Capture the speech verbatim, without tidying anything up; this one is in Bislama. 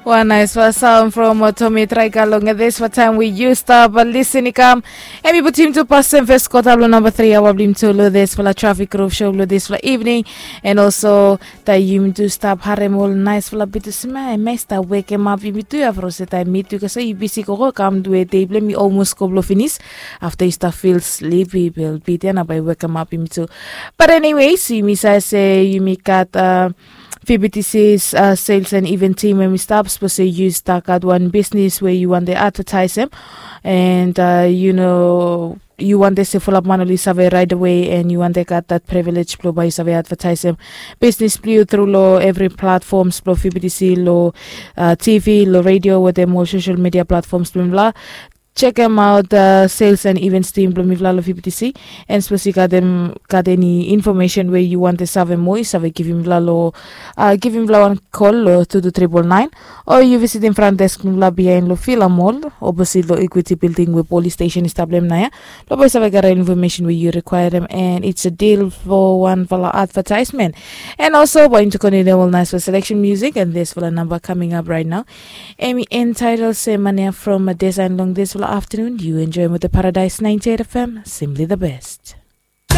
Wan naispela saun from Tomi Traika long dispela taim we yu stap lisin i kam. Em i putim tu pasim fes kota bilong namba tri awa bilong tu long dispela trafik ruf show bilong dispela evening. And also taim yumi tu stap harim ol naispela bitu sima em i stap wekem ap yumi tu ya from se taim mi tu kasa yu bisi koko kam duwe dei bilong mi olmos go bilong finis. Afta yu stap fil slipi bilong bit ya na bai wekem ap yumi tu. But anyways yumi save se yumi gat uh, F B T C's uh, sales and event team em i stap sapos se yu stap gat wan bisnis we yu wante advertisem and uh, you know yu wante se fulap man oli save right away and yu wante gat that privilege bilong bai yu save advertisem bisnis bilong yu tru long every platforms bilong F B T C long uh, T V long radio wetem ol social media platforms bilong la check em out uh, sales and events team bilong mifla long F B T C. And sapos yu gat em gat any information we yu wante save moa yu save givim mifla long uh, givim mifla wan call long two two triple nine. O yu visitim front desk mifla bihain long Villa Mall opposite long Equity Building we police station i stap long em na ya. Long bai save gat information we yu requirem and it's a deal for wanfala advertisement. And also bai yumi continue ol nice selection music and dispela number coming up right now. Em i entitled se mania from a design long dispela afternoon you enjoy with the Paradise ninety-eight F M, simply the best.